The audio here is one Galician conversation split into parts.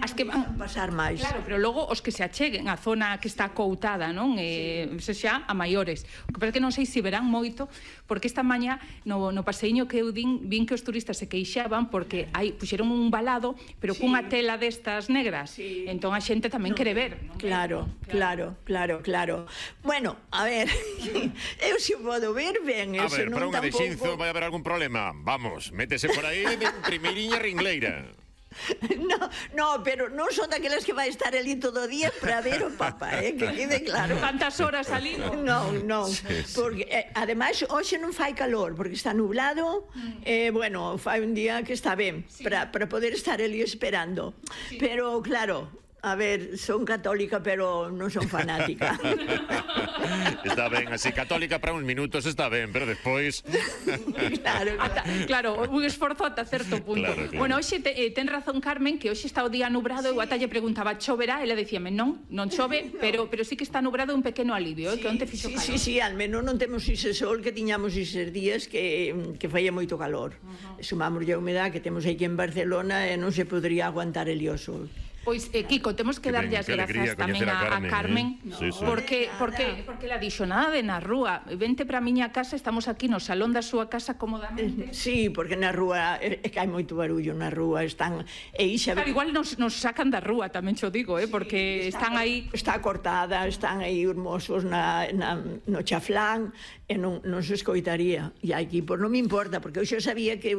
as que van pasar máis. Claro, pero logo os que se acheguen á zona que está coutada, non? Se xa a maiores. O que pasa que non sei se verán moito, porque esta mañá no paseiño que eu vin que os turistas se queixaban porque puxeron un valado, pero cunha tela destas negras. Entón a xente tamén quere ver. Claro. Bueno, a ver, eu se podo ver ben, a ver, para unha de Xinzo vai haber algún problema. Vamos, métese por aí de primeirinha ringleira. No, pero non son daquelas que vai estar ali todo o día para ver o Papa, que quede claro. Tantas horas ali, non? Non, porque ademais hoxe non fai calor, porque está nublado, bueno, fai un día que está ben para poder estar ali esperando. Pero claro, a ver, son católica, pero non son fanática. Está ben, así, católica para uns minutos está ben, pero despois... Claro, un esforzo ata certo punto. Bueno, hoxe ten razón Carmen, que hoxe está o día nubrado, eu ata lle preguntaba, choverá? Ela dicíame, non chove, pero sí que está nubrado, un pequeno alivio, que onte fixo calor. Sí, al menos non temos ese sol que tiñamos eses días que faía moito calor. Sumamos a humedade que temos aquí en Barcelona e non se podría aguantar el o sol. Pois, Kiko, temos que darlle as grazas tamén a Carmen, porque la dixo, nada de na rúa, vente para a miña casa, estamos aquí no salón da súa casa cómodamente. Sí, porque na rúa é que hai moito barullo na rúa, están... Claro, igual nos sacan da rúa, tamén xo digo, porque están aí... Está cortada, están aí os mozos no chaflán, e non se escoitaría. E aquí, pois non me importa, porque eu xa sabía que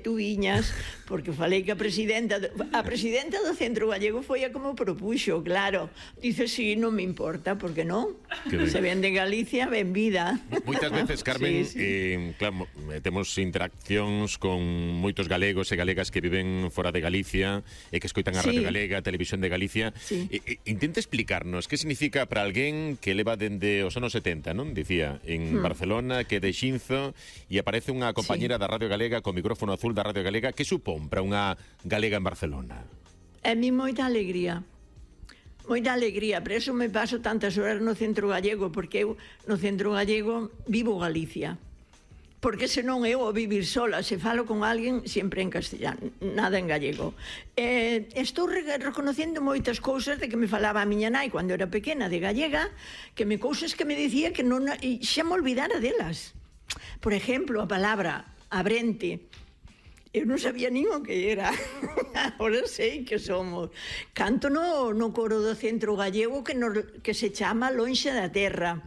tú viñas, porque falei que a presidenta do Centro Gallego foi a como propuxo, claro. Dice, sí, non me importa, porque non? Se vende en Galicia, ben vida. Moitas veces, Carmen, claro, temos interaccións con moitos galegos e galegas que viven fora de Galicia e que escoitan a Radio Galega, a Televisión de Galicia. Intenta explicarnos que significa para alguén que leva dende os anos 70, non? Dicía, en Barcelona, que é de Xinzo, e aparece unha compañera da Radio Galega con micrófono azul da Radio Galega. Que supón para unha galega en Barcelona? A mí moita alegría, por eso me paso tantas horas no Centro Gallego, porque eu no Centro Gallego vivo Galicia, porque senón eu ao vivir sola, se falo con alguén sempre en castellano, nada en gallego. Estou reconocendo moitas cousas de que me falaba a miña nai cando era pequena de gallega, cousas que me dicía que non, xa me olvidara delas. Por exemplo, a palabra abrente, eu non sabía nin o que era. Agora sei que somos. Canto no coro do Centro Gallego que se chama Lonxe da Terra.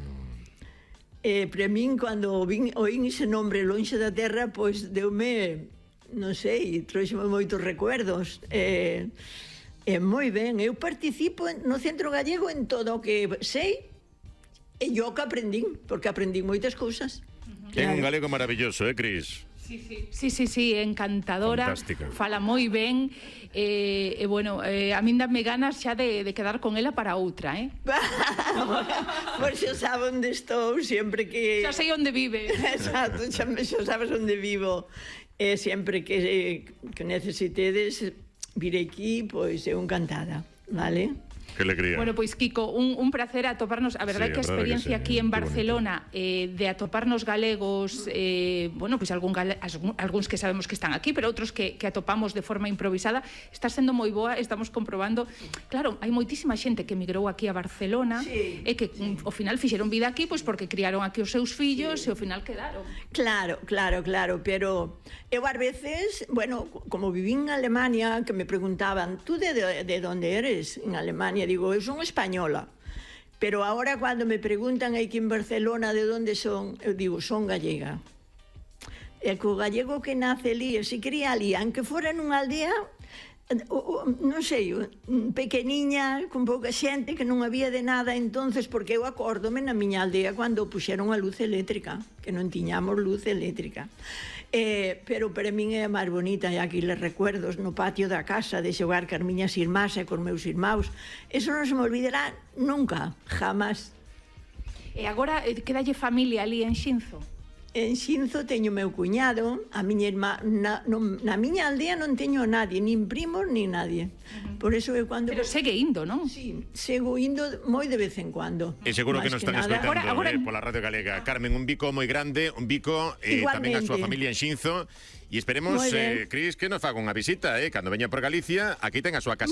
Para min, cando oín ese nombre Lonxe da Terra, pois deume, non sei, trouxeme moitos recuerdos. Moi ben, eu participo no Centro Gallego en todo o que sei e yo que aprendín, porque aprendín moitas cousas. Ten un galego maravilloso, Cris? Sí, encantadora. Fantástica. Fala moi ben. Bueno, a min dame ganas xa de quedar con ela para outra, Pois xa sabe onde estou, sempre que... Xa sei onde vive. Exacto, xa sabes onde vivo. Sempre que necesitedes vir aquí, pois eu encantada, vale? Que alegría. Bueno, pois Kiko, un placer atoparnos, a verdade que a experiencia aquí en Barcelona de atoparnos galegos, bueno, pois algúns que sabemos que están aquí, pero outros que atopamos de forma improvisada, está sendo moi boa, estamos comprobando, claro, hai moitísima xente que emigrou aquí a Barcelona e que ao final fixeron vida aquí pois porque criaron aquí os seus fillos e ao final quedaron. Claro, pero eu ás veces, bueno, como vivín en Alemania, que me preguntaban, tú de onde eres en Alemania? Digo, eu son española, pero ahora cando me preguntan aquí en Barcelona de onde son, eu digo, son gallega. E co gallego que nace ali, e se cría ali, aunque fora nunha aldea, non sei, pequeniña, con pouca xente, que non había de nada entonces, porque eu acórdome na miña aldea cando puxeron a luz eléctrica, que non tiñamos luz eléctrica. Pero para min é a máis bonita, e aquí les recuerdos no patio da casa de xogar con as miñas irmás e con meus irmãos. Eso non se me olvidará nunca, jamás. E agora quedalle familia ali en Xinzo? En Xinzo teño meu cuñado, a miña irmá, na miña aldea non teño a nadie, nin primos, nin nadie. Por eso é cando... Pero segue indo, non? Sí, sigo indo moi de vez en cuando. E seguro que nos están escoitando pola Radio Galega. Carmen, un bico moi grande, un bico tamén a súa familia en Xinzo, e esperemos, Cris, que nos faga unha visita, cando veña por Galicia, aquí ten a súa casa.